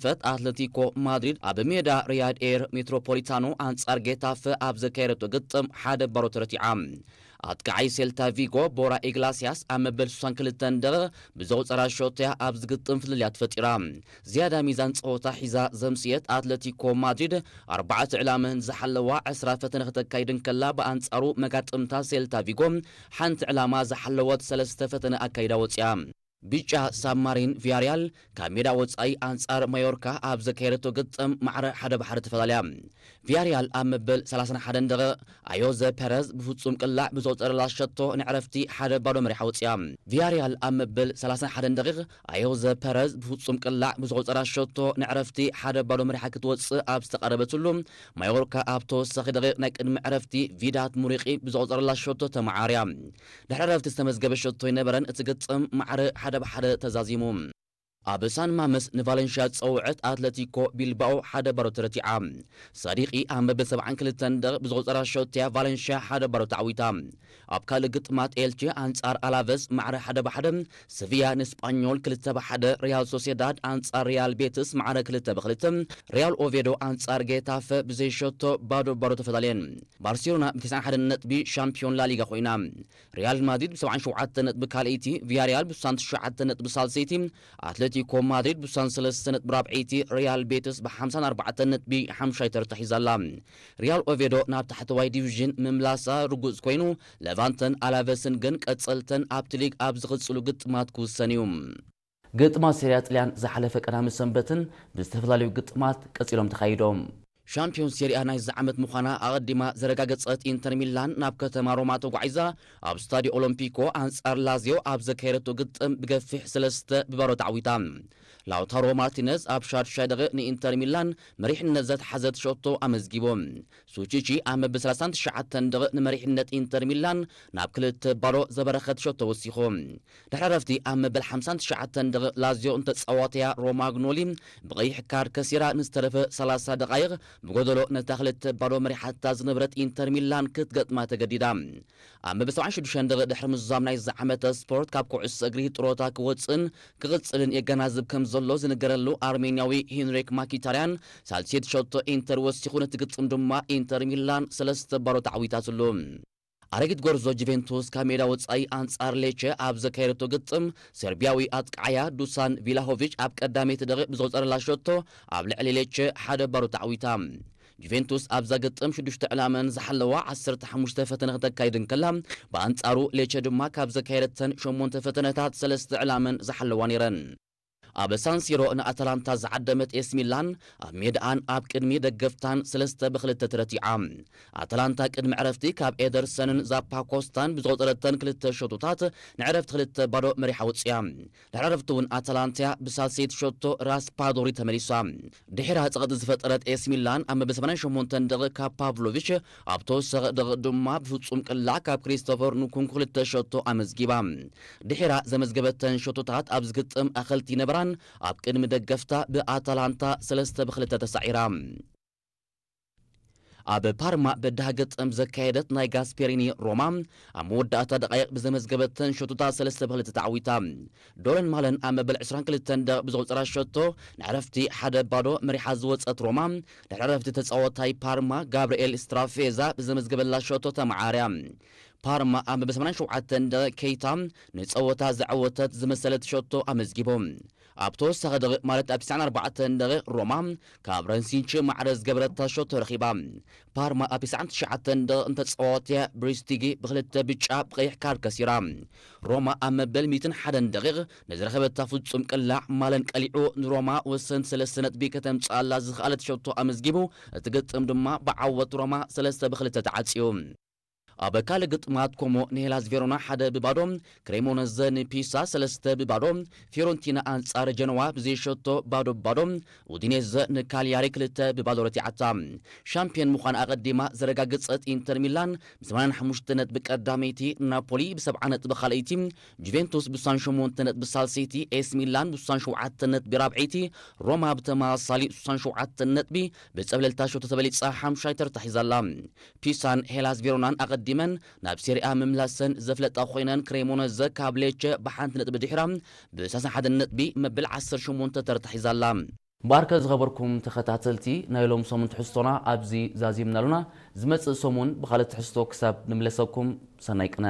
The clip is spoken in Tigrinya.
ፈት ኣትለቲኮ ማድሪድ ኣብ ሜዳ ሪያድ ኤር ሜትሮፖሊታኖ ኣንጻር ጌታፈ ኣብ ዘካየደቶ ግጥም ሓደ ባዶ ተረቲዓ። ኣጥቃዓይ ሴልታ ቪጎ ቦራ ኢግላሲያስ ኣብ መበል ስሳን ክልተን ደቂቕ ብዘቑጸራ ሾቶያ ኣብዚ ግጥም ፍልልያት ፈጢራ። ዝያዳ ሚዛን ጸወታ ሒዛ ዘምስየት ኣትለቲኮ ማድሪድ ኣርባዕተ ዕላመን ዝሓለዋ ዕስራ ፈተነ ክተካይድ እንከላ፣ ብኣንጻሩ መጋጥምታ ሴልታ ቪጎ ሓንቲ ዕላማ ዝሓለወት ሰለስተ ፈተነ ኣካይዳ ወጽያ። ብጫ ሳብማሪን ቪያሪያል ካብ ሜዳ ወጻኢ ኣንጻር ማዮርካ ኣብ ዘካየደቶ ግጥም ማዕረ ሓደ ብሓደ ተፈላለያ። ቪያሪያል ኣብ መበል ሰላሳን ሓደን ደቂቕ ኣዮዘ ፐረዝ ብፍጹም ቅላዕ ብዘቑጸረላ ሸቶ ንዕረፍቲ ሓደ ባዶ መሪሓ ወጽያ። ቪያሪያል ኣብ መበል ሰላሳን ሓደን ደቂቕ ኣዮዘ ፐረዝ ብፍጹም ቅላዕ ብዘቑጸራ ሸቶ ንዕረፍቲ ሓደ ባዶ መሪሓ ክትወጽእ ኣብ ዝተቓረበትሉ፣ ማዮርካ ኣብ ተወሳኺ ደቂቕ ናይ ቅድሚ ዕረፍቲ ቪዳት ሙሪቂ ብዘቑጸረላ ሸቶ ተመዓርያ። ድሕሪ ዕረፍቲ ዝተመዝገበ ሸቶ ኣይነበረን፣ እቲ ግጥም ማዕረ ሓደ ብሓደ ተዛዚሙ። ኣብ ሳን ማመስ ንቫለንሽያ ዝጸውዐት ኣትለቲኮ ቢልባኦ ሓደ ባዶ ተረቲዓ። ሳዲቂ ኣብ መበል ሰብዓን ክልተን ደቂቕ ብዝቑጸራ ሸቶያ ቫለንሽያ ሓደ ባዶ ተዓዊታ። ኣብ ካልእ ግጥማት ኤልቼ ኣንጻር ኣላቨስ ማዕረ ሓደ ብሓደ፣ ሰቪያ ንስጳኞል ክልተ ብሓደ፣ ሪያል ሶሴዳድ ኣንጻር ሪያል ቤትስ ማዕረ ክልተ ብክልተ፣ ሪያል ኦቬዶ ኣንጻር ጌታፈ ብዘይ ሸቶ ባዶ ባዶ ተፈላለየን። ባርሴሎና ብ ተስዓን ሓደን ነጥቢ ሻምፒዮን ላሊጋ ኮይና። ሪያል ማድሪድ ብ ሰብዓን ሸውዓተን ነጥቢ ካልኣይቲ፣ ቪያሪያል ብ ስሳን ትሽዓተን ነጥቢ ሳልሰይቲ፣ ኣትሌቲኮ ማድሪድ ብ ስሳን ሰለስተን ነጥቢ ራብዐይቲ፣ ሪያል ቤትስ ብ ሓምሳን ኣርባዕተን ነጥቢ ሓምሻይ ተርታ ሒዛ ኣላ። ሪያል ኦቬዶ ናብ ታሕተዋይ ዲቪዥን ምምላሳ ርጉጽ ኮይኑ፣ ለቫንተን ኣላቨስን ግን ቀጸልተን ኣብቲ ሊግ ኣብ ዝቕጽሉ ግጥማት ክውሰን እዩ። ግጥማት ሴሪያ ጥልያን ዝሓለፈ ቀዳመ ሰንበትን ብዝተፈላለዩ ግጥማት ቀጺሎም ተኻይዶም። ሻምፒዮን ሴሪያ ናይዚ ዓመት ምዃና ኣቐዲማ ዘረጋገጸት ኢንተር ሚላን ናብ ከተማ ሮማ ተጓዒዛ ኣብ ስታዲዮ ኦሎምፒኮ ኣንጻር ላዚዮ ኣብ ዘካየደቶ ግጥም ብገፊሕ ሰለስተ ብባዶ ተዓዊታ። ላውታሮ ማርቲነዝ ኣብ ሻድሻይ ደቂቕ ንኢንተር ሚላን መሪሕነት ዘትሓዘት ሸቶ ኣመዝጊቡ። ሱቺቺ ኣብ መበል ሰላሳን ትሽዓተን ደቂቕ ንመሪሕነት ኢንተር ሚላን ናብ ክልተ ባዶ ዘበረኸት ሸቶ ወሲኹ። ድሕሪ ዕረፍቲ ኣብ መበል ሓምሳን ትሽዓተን ደቂቕ ላዚዮ እንተጻወተያ ሮማግኖሊ ብቐይሕ ካርድ ከሲራ ንዝተረፈ ሰላሳ ደቓይቕ ብጎደሎ ነታ ክልተ ባዶ መሪሓታ ዝነበረት ኢንተር ሚላን ክትገጥማ ተገዲዳ። ኣብ መበል ሰብዓን ሽዱሽተን ደቂቕ ድሕሪ ምዝዛም ናይዚ ዓመተ ስፖርት ካብ ኩዕሶ እግሪ ጥሮታ ክወጽእን ክቕጽልን የገናዝብ ከም ዘሎ ዝንገረሉ ኣርሜንያዊ ሄንሪክ ማኪታርያን ሳልሴት ሸቶ ኢንተር ወሲኹ ነቲ ግጥም ድማ ኢንተር ሚላን ሰለስተ ባዶ ተዓዊታትሉ። ኣረጊት ጎርዞ ጁቬንቱስ ካብ ሜዳ ወጻኢ ኣንጻር ሌቸ ኣብ ዘካየደቶ ግጥም ሰርቢያዊ ኣጥቃዓያ ዱሳን ቪላሆቪች ኣብ ቀዳመይቲ ደቂቕ ብዘቑጸረላ ሸቶ ኣብ ልዕሊ ሌቸ ሓደ ባዶ ተዓዊታ። ጁቬንቱስ ኣብዛ ግጥም ሽዱሽተ ዕላመን ዝሓለዋ ዓሰርተ ሓሙሽተ ፈተነ ክተካይድ እንከላ፣ ብኣንጻሩ ሌቸ ድማ ካብ ዘካየደተን ሸሞንተ ፈተነታት ሰለስተ ዕላመን ዝሓለዋ ነይረን። ኣብ ሳንሲሮ ንኣታላንታ ዝዓደመት ኤስ ሚላን ኣብ ሜድኣን ኣብ ቅድሚ ደገፍታን ሰለስተ ብክልተ ተረቲዓ። ኣታላንታ ቅድሚ ዕረፍቲ ካብ ኤደርሰንን ዛፓኮስታን ብዝቆጸረተን ክልተ ሸቶታት ንዕረፍቲ ክልተ ባዶ መሪሓ ወጽያ። ድሕሪ ዕረፍቲ እውን ኣታላንታ ብሳልሰይቲ ሸቶ ራስፓዶሪ ተመሊሳ። ድሒራ ጸቕጢ ዝፈጠረት ኤስ ሚላን ኣብ መበል ሰማንያን ሸሞንተን ደቂቕ ካብ ፓቭሎቪች ኣብ ተወሳኺ ደቂቕ ድማ ብፍጹም ቅላዕ ካብ ክሪስቶፈር ንኩንኩ ክልተ ሸቶ ኣመዝጊባ። ድሒራ ዘመዝገበተን ሸቶታት ኣብ ዝግጥም ኣኸልቲ ነበራን ኣብ ቅድሚ ደገፍታ ብኣታላንታ ሰለስተ ብክልተ ተሳዒራ። ኣብ ፓርማ በዳህ ግጥም ዘካየደት ናይ ጋስፔሪኒ ሮማ ኣብ መወዳእታ ደቃይቕ ብዘመዝገበተን ሸቶታት ሰለስተ ብክልተ ተዓዊታ። ዶረን ማለን ኣብ መበል ዕስራን ክልተን ደቂቕ ብዘቑጸራ ሸቶ ንዕረፍቲ ሓደ ባዶ መሪሓ ዝወጸት ሮማ፣ ድሕሪ ዕረፍቲ ተጻዋታይ ፓርማ ጋብርኤል ስትራፌዛ ብዘመዝገበላ ሸቶ ተመዓርያ። ፓርማ ኣብ መበል ሰማንያን ሸውዓተን ደቂቕ ኬይታ ንጸወታ ዘዐወተት ዝመሰለት ሸቶ ኣመዝጊቡ። ኣብ ተወሳኺ ደቂቕ ማለት ኣብ ትስዓን ኣርባዕተን ደቂቕ ሮማ ካብ ረንሲንቺ ማዕረ ዝገበረታ ሸቶ ረኺባ። ፓርማ ኣብ ትስዓን ትሽዓተን ደቂቕ እንተጸዋወተ ብሪስቲጊ ብክልተ ብጫ ብቐይሕ ካርድ ከሲራ። ሮማ ኣብ መበል ሚእትን ሓደን ደቂቕ ንዝረኸበታ ፍጹም ቅላዕ ማለን ቀሊዑ ንሮማ ወሰንቲ ሰለስተ ነጥቢ ከተምጽኣላ ዝኸኣለት ሸቶ ኣመዝጊቡ፣ እቲ ግጥም ድማ ብዓወት ሮማ ሰለስተ ብክልተ ተዓጽዩ። ኣብ ካልእ ግጥማት ኮሞ ንሄላስ ቬሮና ሓደ ብባዶ፣ ክሬሞነዘ ንፒሳ ሰለስተ ብባዶ፣ ፊዮረንቲና ኣንጻር ጀነዋ ብዘይሸቶ ባዶ ብባዶ፣ ኡዲኔዘ ንካልያሪ ክልተ ብባዶ ረቲዓታ። ሻምፒዮን ምዃን ኣቐዲማ ዘረጋገጸት ኢንተር ሚላን ብ ሰማንያን ሓሙሽተ ነጥቢ ቀዳመይቲ፣ ናፖሊ ብ ሰብዓ ነጥቢ ካልኣይቲ፣ ጁቬንቱስ ብ ስሳን ሸሞንተ ነጥቢ ሳልሰይቲ፣ ኤስ ሚላን ብ ስሳን ሸውዓተ ነጥቢ ራብዐይቲ፣ ሮማ ብተመሳሳሊ ስሳን ሸውዓተ ነጥቢ ብጸብለልታ ሸቶ ተበሊጻ ሓምሻይ ተርታ ሒዛ ኣላ። ፒሳን ሄላስ ቬሮናን ኣቐዲመን ናብ ሴሪኣ ምምላሰን ዘፍለጣ ኮይነን፣ ክሬሞነዘ ካብ ሌቸ ብሓንቲ ነጥቢ ድሒራ ብ ሰላሳ ሓደ ነጥቢ መበል ዓሰርተ ሸሞንተ ተርታ ሒዛ ኣላ። እምበኣርከ ዝኸበርኩም ተኸታተልቲ ናይ ሎም ሰሙን ትሕዝቶና ኣብዚ ዛዚምና ኣሉና። ዝመጽእ ሰሙን ብኻልእ ትሕዝቶ ክሳብ ንምለሰኩም ሰናይ ቅነ።